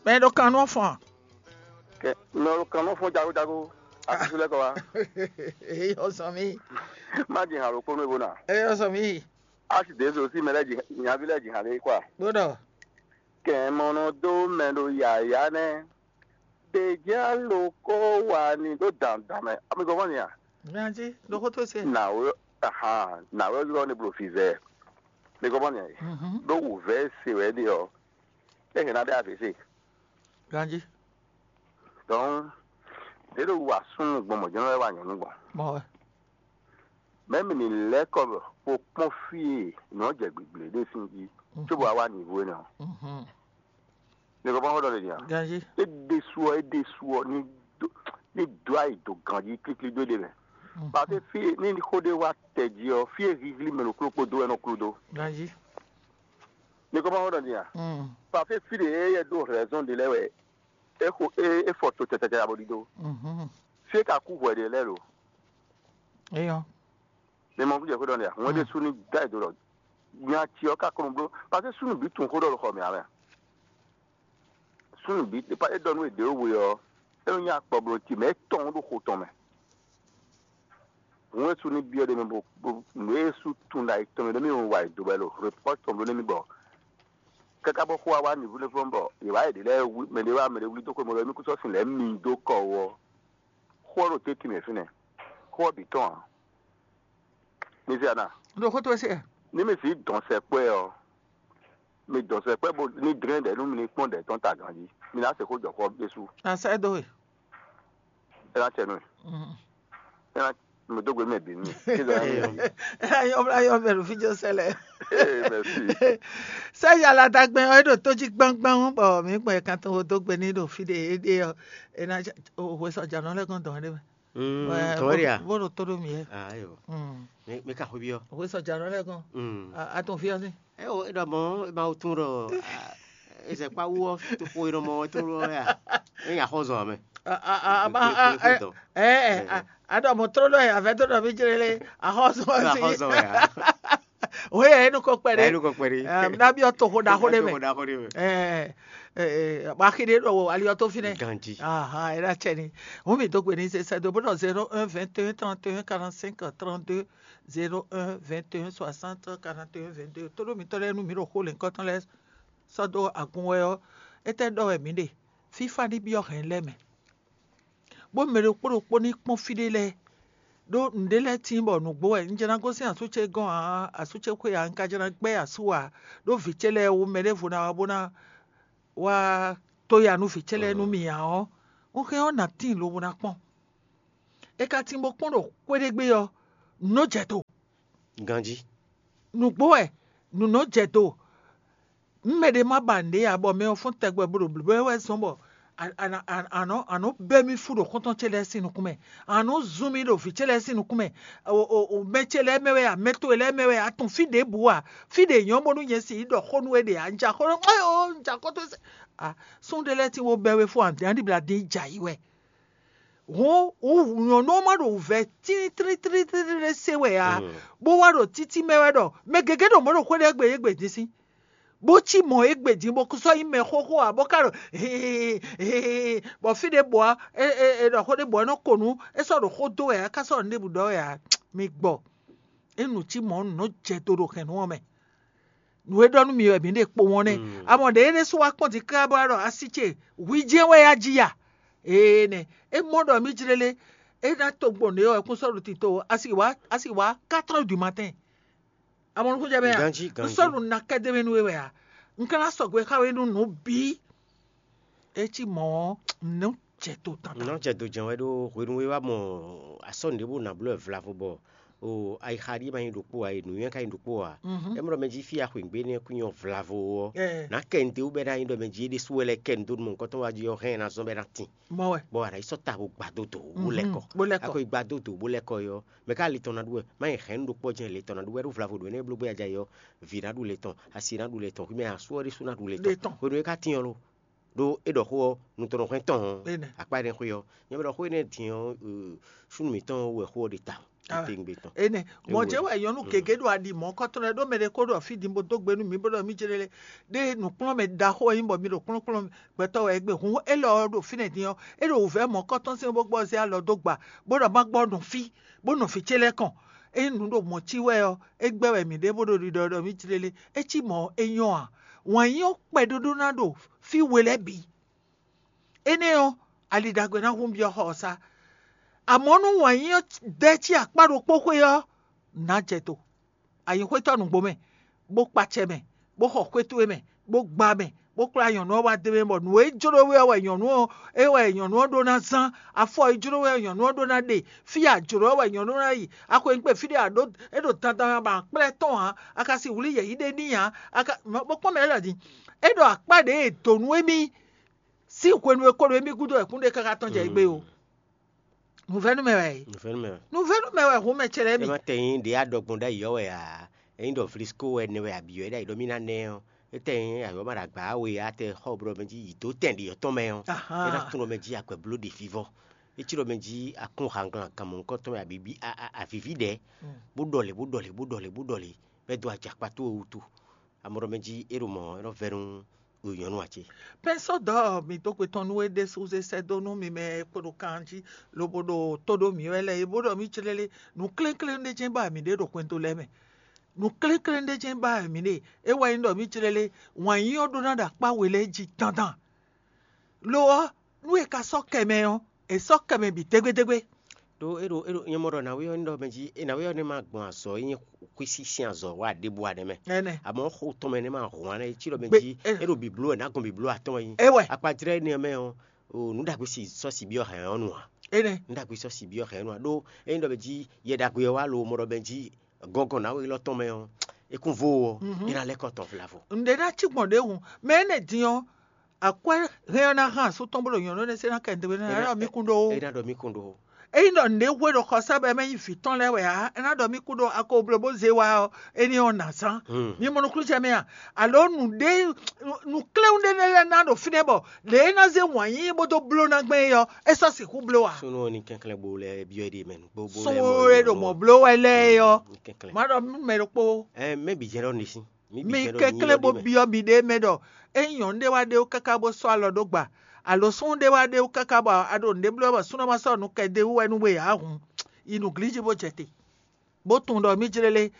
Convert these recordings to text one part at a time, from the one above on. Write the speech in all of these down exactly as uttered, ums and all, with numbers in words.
Ɛ ɖo kan nú ɔ́ fɔn. Kɛ nɔ kan nɔ fɔn jago jago. Akusu lɛ kɔ wa. Eyi ɔsɔn mi. Má di hàn lókpó nú ebo na. Eyi ɔsɔn mi. Asi de zo si mɛ lɛ dzi nyavi lɛ dzi hàn lɛ kwa. Gbɔdɔ. Kɛ mɔnɔ dó mɛ ɖo yaya nɛ. Ɖe jɛ alo kó wa ni ɖó dandan mɛ. Ami gɔmɔ ni a? Ganji, ɖo xó tó se. Nawe, ahan, nawe yɔ ni blo fi vɛ. Mi gɔmɔ ni a? Ɖó wǔvɛ́ se wɛ ɖe ɔ. É hɛn ná ɖe avě se. Ganji. Donc, ɖě ɖo wa súnnu gbɔn mɔ̌ jɛ́n wɛ wa nyɔ̌nu gbɔn. Mɔ wɛ. Mɛ̌ mi ní lɛ́ kɔ bɔ kpó kpɔ́n fí e nǔ ɔ́ jɛ gbǐgblé ɖé sín jí, cóbɔ wá wá nǐvú énɛ́ ɔ́. Mhm. Mi kɔ bɔ xó ɖɔ lě nya. Ganji. É ɖésú ɔ́, é ɖésú ɔ́, ní dó ní dó ayi dó ganjí klíklí dó é ɖe mɛ. Mhm. Pàtó fí ní xó ɖé wá tɛ jí ɔ́, fí e híhlí mɛ ɖo kló kpó dó wɛ nɔ kló dó. Ganji. Mi kɔ bɔ xó ɖɔ lě nya. Mm. Pàtó fí ɖě é yɛ ɖó rɛzɔn ɖé lɛ́ɛ wɛ é xo é é fɔ to tɛtɛtɛ abo ɖiɖó. Mhm. Fí e ka kú hwɛ ɖě lɛ́ɛ lo. Eyɔ. Mi mɔ kújɛ xó ɖɔ nɛ́ ǎ, wọ́n ɖé sú ní dá ìdó lɔ nya tsi ɔ́ ka kɔn bló, parce que súnnu bǐ tunwun xó ɖɔ ɖo xɔ mǐ ǎ mɛ. Súnnu bǐ é ɖɔ nú è ɖě we ɔ́, é nɔ nyí akpɔ bló ti mɛ é tɔn ɖo xo tɔn mɛ. Hǔn é sú ní byɔ́ ɖé mɛ bó bó nǔ é sú tunwun ɖo ayǐ tɔn mɛ ɖé mɛ wa è dǒ wɛ ɖo répɔ́t tɔn bló nɛ́ mì bɔ káká bɔ xó wa wá nǔvú lɛ́ɛ fɔ́n bɔ yě wá yě ɖě lɛ́ɛ wú mɛ ɖé wá mɛ ɖé wlí dó xwé mɔ lɔ émí kú sɔ́ sin lɛ́ɛ mi dó kɔ wú ɔ́, xó ɔ́ ɖo tɛ́ntin mɛ fínɛ́, xó ɔ́ bǐ tɔn ǎ. Mi se ana? Ɖo xó towe se. Ní mi sǐ dɔn sɛkpɔ́ ɛ ɔ́, mi dɔn sɛkpɔ́ bó ní dlɛ́n ɖɛ̌ nú mi ní kpɔ́n ɖɛ̌ tɔn ta ganjí. Mi ná se xó jɔ xó ɔ́ ɖésú. A sɛ́ dó we. É ná cɛ nú mi. Mhm. É ná mi dó gbe mɛ bǐ nú mi. Kí ló ná mi yɔ? É ná nyɔ́ bla yɔ mɛ ɖo fí jɔ sɛ lɛ. Ee, merci. Sɛ yàrá dàgbẹ́ ɔ é ɖo tó jí gbánggbáng bɔ mǐ gbɔn ɛ kan tó dó gbe ní ɖo fí ɖe é ɖe ɔ é ná hwe sɔjà nɔ lɛ́ gɔn dɔn ɖé mɛ. Mm, Wɛ, tɔn wɛ ɖe a? Bó ɖo tó ɖó mǐ yɛ. Ah, ayo. Mm. Mi mi ka xwé byɔ́. Hwe sɔjà nɔ lɛ́ gɔn. Mm. A a tɔn fí ɔ́ sí. Ɛ o e ɖɔ mɔ e ma wo tún ɖɔ ezɛkpa wu ɔ to xo e ɖɔ mɔ e to ɖɔ ya e nya xɔ zɔn amɛ. A a a a Gbé- gbé- gbé dɔn. Ɛ ɛ a a ɖɔ mɔ tró ɖɔ yɛ avɛ tó ɖɔ mí jlé lé a xɔ zɔn E ma xɔ si. Zɔn ya. O yɛ enu ko kpɛ Ɛ ɖe. Enu ko kpɛ ɖi. Ɛ na bi ɔ to xo ɖaxo ɖe mɛ. Ko da ko ɖe mɛ. Ɛ ɛ ɛ wa xi ɖe ɖɔ wo ali ɔ to fi nɛ. Ganji. Aha, e na cɛ ni. Hu mi do gbe ni se sɛ do bó nɔ zéro un vingt et un trente et un quarante-cinq trente-deux, zéro un vingt et un soixante quarante et un vingt-deux. Tó ɖó mitɔn lɛ́ɛ nú mǐ ɖo xó lěhunkɔtɔn lɛ́ɛ sɔ́ dó agun wɛ ɔ́, étɛ́ ɖɔ wɛ mǐ ɖe? Fífá ní byɔ́ hɛ̌n lɛ́ɛ mɛ, bó mɛ ɖokpó ɖokpó ní kpɔ́n fí ɖé lɛ́ɛ. Ɖó nǔɖé lɛ́ɛ tíin bɔ nǔgbó wɛ un jɛ ná gosín asú ce gɔ́n ǎ, asú ce xwé ǎ, un ka jɛ ná gbɛ́ asú ǎ, ɖó vǐ ce lɛ́ɛ wú mɛ ɖěvo ná wá bó ná wá tó ya nú vǐ ce lɛ́ɛ nú mì ǎ ɔ́, un hɛn ɔ́ nǎ tíin lobo ná kpɔ́n. È ka tín bó kpɔ́n ɖo xwé ɖé gbe ɔ́, nǔ nɔ́ jɛ do. Ganjí. Nǔgbó wɛ, nǔ nɔ́ jɛ do. Nú mɛɖé má ba nǔɖé ǎ, bɔ mɛ ɔ́ fɔ́n tɛgbɛ bó ɖo blǒbló wɛ zɔ́n bɔ a- a- a- a nɔ- a nɔ bɛ́ mì fú ɖo xɔ́ntɔn ce lɛ́ɛ sín nukún mɛ, a nɔ zun mì ɖo vǐ ce lɛ́ɛ sín nukún mɛ, o- o- o- mɛ ce lɛ́ɛ mɛ wɛ a, mɛ towe lɛ́ɛ mɛ wɛ a, tunwun fí ɖěbǔ a, fí ɖě nyɔ́ bónú nyɛ si yi ɖɔ xó nú we ɖe a, un ja xó nú, ayo, un ja xó towe se a, súnnu ɖé lɛ́ɛ tín bó bɛ́ we fú a, ǎ ɖibla dín jɛ ayǐ wɛ. Hǔn wǔ nyɔ̌nu ɔ́ má ɖo wǔvɛ́ tlítlítlítlí ɖé se wɛ ǎ, bó wá ɖo títí mɛ wɛ ɖɔ mɛ gěgé ɖo mɔ̌ ɖo xwé ɖé gbe égbé din sín, bó cí mɔ̌ égbé din bó sɔ́ nyí mɛ xóxó ǎ, bó ka ɖo hii hii, bɔ fí ɖěbǔ ɔ́, è è è ɖɔ xó ɖěbǔ ɔ́ nɔ ko nǔ, é sɔ́ ɖo xó dó wɛ ǎ, é ka sɔ́ ɖo nǔ ɖěbǔ ɖɔ wɛ ǎ. Mi gbɔ, é nǔ cí mɔ̌ nǔ nɔ jɛ do ɖo hɛ̌nnu ɔ́ mɛ. Nǔ e ɖɔ nú mi wɛ mǐ ɖe kpo wɔn nɛ́. Amɔ ɖě é ɖésú wá kpɔ́n din káká bó wá ɖɔ así ce hwi jɛ́n wɛ yá jí ya. Ee nɛ, é mɔ ɖɔ mí jlélé, é ná to gbɔn nǔ e wɛ kún sɔ́ ɖo tito asi wá asi wá quatre heures du matin. Amɔ nukún jɛ mɛ ya. Ganjí, un ganjí. Sɔ́ ɖo na kɛ́ dé mɛ nú we wɛ a? Un ka ná sɔgbe xá we nú nǔ bǐ. É cí mɔ̌ ɔ́, nǔ jɛ do tantán. Nɔ jɛ do jɛn wɛ ɖó hwenu e wá mɔ asɔ́ nǔɖé bó nǎ bló wɛ vlavo bɔ o ayixa ɖíe ma nyí ɖokpó ǎ, e nǔnywɛ́ ka nyí ɖokpó ǎ. É mɔ ɖɔ mɛ jí fí axwǐngbé nɛ́ kú nyɔ vlavo ɔ́, nǎ kɛ nǔɖé wú bɔ é ná nyí ɖɔ mɛ jí é ɖésú wɛ lɛ́ kɛ nǔ dó nú mɔ̌hunkɔtɔn wá jí ɔ́, hɛn ɛ ná zɔ́n bɔ é ná tin. Mɔ wɛ. Bɔ a nǎ yi sɔ́ ta bó gba dó dǒ wú lɛ́ kɔ. Bó lɛ́ kɔ. A ko yi gba dó dǒ bó lɛ́ kɔ é ɔ́, mɛ ká le tɔn ná ɖu wɛ, má nyɛ hɛ̌nnu ɖokpó ɔ́ jɛ́n le tɔn ná ɖu wɛ ɖó vlavo ɖǒ énɛ́ bló gbé ajayi ɔ́, vǐ ná ɖu le tɔn, asi ná ɖu le tɔn, xwimɛ asú ɔ́ ɖésú ná ɖu le tɔn. Le tɔn. Hwenu e é ka tín ɔ́ lo, ɖó é ɖɔ xó ɔ́, nú tɔn nɔ hwɛ́n tɔn ɔ́, akpá énɛ́ xwé ɔ́, nyɛ bɛ ɖɔ xó énɛ́ din ɔ́, súnnu mǐtɔn wɛ xó ɔ́ ɖe ta. Titewungbe tɔn. Énɛ́. Mɔ̌ ce wɛ nyɔ̌nu gěgé ɖo aɖi mɔ̌ kɔ́tɔn lɛ́ɛ ɖó mɛ ɖé ko ɖɔ fí din bó dó gbe nú mǐ bó ɖɔ mí jlé lé. Ɖé nǔkplɔ́nmɛ ɖaxó e nyí bɔ mi ɖo kplɔ́nkplɔ́n gbɛtɔ́ wɛ é gbe. Hǔn élɔ́ ɔ́ ɖo fínɛ́ din ɔ́, é ɖo wǔvɛ́ mɔ̌ kɔ́tɔn sín bó gbɔ zé alɔ dó gba, bó ɖɔ má gbɔ nɔ fí, bó nɔ fí ce lɛ́ɛ kɔn. Ényí nǔ ɖo mɔ̌ cí wɛ ɔ́, é gbɛ́ wɛ mǐ ɖe bó ɖo ɖiɖɔ ɖɔ mí jlé lé. É cí mɔ̌ é nyɔ́ ǎ. Wǎn yí ɔ́ kpɛɖóɖó ná ɖo fí we lɛ́ɛ bǐ. Énɛ́ ɔ́, ali ɖagbe ná hun byɔ́ xɔ ɔ́ sá. Amɔ̌ nú wǎn yí ɔ́ dɛ́ cí akpá ɖokpó xwé ɔ́, nǎ jɛ to. Ayǐxwétɔ́ nǔgbó mɛ, bó kpa acɛ mɛ, bó xɔ xwé towe mɛ, bó gbá mɛ, bó kplá nyɔ̌nu ɔ́ wá d'é mɛ bɔ nǔ e jló we ɔ́ wɛ nyɔ̌nu ɔ́ é wɛ nyɔ̌nu ɔ́ ɖó ná zán, afɔ e jló we ɔ́ nyɔ̌nu ɔ́ ɖó ná ɖe, fí e a jlǒ ɔ́ wɛ nyɔ̌nu ɔ́ ná yi. Axweyǐngbe fí ɖé a ɖǒ é ɖo dandan ba kplɛ́ tɔn ǎ, a ka si wlí yɛ̌yí ɖé n'i ǎ. A ka bó kpɔ́n mɛ lɛ́ɛ din. É ɖɔ akpá ɖě e dǒ nú émí sín hwenu e ko ɖo émí gúdo wɛ kúnɖe káká tɔn jɛ égbé o. Nǔvɛ́nú mɛ wɛ é. Nǔvɛ́nú mɛ wɛ. Nǔvɛ́nú mɛ wɛ hun mɛ ce lɛ́ɛ ɛ mi. Má tɛ nyí ɖě a ɖɔ gbɔn ɖ'ayǐ ɔ́ wɛ ǎ. Ényí ɖɔ vlisco wɛ nɛ wɛ abǐ wɛ ɖ'ayǐ ɖɔ mí ná nɛ ɔ́, é tɛ nyí ayɔ́ ma ɖo agba we ǎ tɛ xɔ blɔ mɛ jí yi dó tɛn ɖi yɔ́tɔn mɛ ɔ́, é ná tunwun ɖɔ mɛ jí akwɛ bló ɖe vivɔ. É cí ɖɔ mɛ jí akún hanglan kan mɔ̌hunkɔtɔn mɛ abǐ bí a- a- avǐví ɖɛ̌, bó ɖɔlě bó ɖɔlě bó ɖɔlě bó ɖɔlě, bɔ é dó ajakpa towe wútu. Amɔ ɖɔ mɛ jí é ɖo mɔ̌ é nɔ vɛ́ nú nyɔ̌nu ǎ cé? Pɛ́nsɔ́ dɔ̌ mi dó gbe tɔn nú é ɖésú zé sɛ́ dó nú mi mɛ e kpo ɖo kan jí, lobo ɖo tó ɖó mǐ wɛ lɛ́ɛ é bó ɖɔ mí clélé. Nǔ kléklé ɖé jɛ́n ba mǐ ɖe ɖo xwɛndo lɛ́ɛ mɛ. Nǔ kléklé ɖé jɛ́n ba mǐ ɖe. É wɛ nyí ɖɔ mí clélé, wǎn yí ɔ́ ɖó ná ɖo akpá we lɛ́ɛ jí dandan. Lo ɔ́, nú è ka sɔ́ kɛ mɛ ɔ́, è sɔ́ kɛ mɛ bǐ dégbédégbé. Ɖó é ɖo é ɖo nyɛ mɔ ɖɔ nǎwe ɔ́ ní ɖɔ mɛ jí é nǎwe ɔ́ ní ma gbɔn azɔ̌ e nyí xwísí sín azɔ̌ wá ɖěbǔ ǎ nɛ́ mɛ. Ɛnɛ. Amɔ̌ xo tɔn mɛ nɛ́ ma hɔn ǎ nɛ́ cí ɖɔ mɛ Gbe- jí é- é ɖo bǐbló wɛ nǎ gbɔn bǐbló atɔn wɛ nyí. É wɛ. Akpajlɛ́ énɛ́ mɛ ɔ́, o nǔ ɖagbe si sɔ́ si byɔ́ hɛ̌n ɔ́ nu ǎ. Énɛ́. Nǔ ɖagbe sɔ́ si byɔ́ hɛ̌n ɔ́ nu ǎ ɖó é nyí ɖɔ mɛ jí yɛ ɖagbe ɔ́ wá lo mɔ ɖɔ mɛ jí gɔngɔn nǎwe élɔ́ tɔn mɛ ɔ́, é kún vo ɔ́, é ná lɛ́ kɔ tɔn vlavo. Ǹɖe ná cí gbɔn ɖě hǔn, mɛ énɛ́ din ɔ́, akwɛ́ hɛn ɔ́ ná hán asú tɔn bó ɖo nyɔ̌nu énɛ́ se ná kɛ ndewe ná É ná- ɖɔ mí kún ɖó. É ná ɖɔ mí kún ɖó. Ényí ɖɔ nǔɖé hwe ɖo xɔsá bɔ é mɛ nyí vǐ tɔn lɛ́ɛ wɛ ǎ, é ná ɖɔ mí kún ɖó ako bló bó zé wá ɔ́, énɛ́ ɔ́ nǎ zán. Hmm. Mi mɔ nukúnnú mɛ a? Alo nǔɖé nǔkléwún ɖé lɛ́ɛ ná ɖo fínɛ́ bɔ lě e é ná zé wǎn yíyí bó dó bló ná gbɛn é ɔ́, é sɔ́ sixú bló ǎ. Súnnu ɔ́ ní kɛnklɛ́n bó lɛ́ byɔ́ é ɖe mɛ nǔgbó bó lɛ́ mɔ Súnnu e ɖo mɔ bló wɛ lɛ́ɛ é ɔ́, ní kɛnklɛ́n. Má ɖɔ nú mɛ ɖokpó. Ɛ mɛ bǐ jɛ ɖɔ ní sín. Mi kɛnklɛ́n bó byɔ́ miɖée mɛ ɖɔ ényí nyɔ̌nu ɖé wá ɖe wú káká bó sɔ́ alɔ dó gba, alo súnnu ɖé wá ɖe wú káká bɔ a ɖo nǔɖé bló wɛ bɔ súnnu ɔ́ ma sɔ́ nǔ kɛ d'é wú wɛ nú we ǎ hǔn, yi nǔglíjí bó jɛ te, bó tunwun ɖɔ mí jlé lé.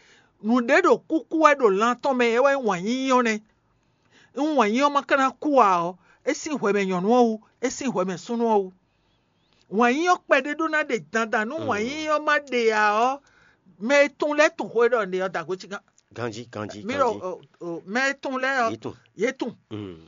Nǔɖé ɖo kúkú wɛ ɖo lan tɔn mɛ, é wɛ nyí wǎn yíyí ɔ́ nɛ́. Nú wǎn yíyí ɔ́ ma ka ná kú ǎ ɔ́, é sín hwɛ mɛ nyɔ̌nu ɔ́ wú, é sín hwɛ mɛ súnnu ɔ́ wú. Wǎn yíyí ɔ́ kpɛɖé ɖó ná ɖe dandan nú wǎn yíyí ɔ́ ma ɖe ǎ ɔ́, mɛ e tunwun lɛ́ɛ tunwun xó e ɖɔ un ɖe ɔ́ da gǒ cí gán. Ganjí, ganjí, mí ɖo ganjí. O- o- mɛ e tunwun lɛ́ɛ ɔ́, Yě tunwun. Yě tunwun. Mm.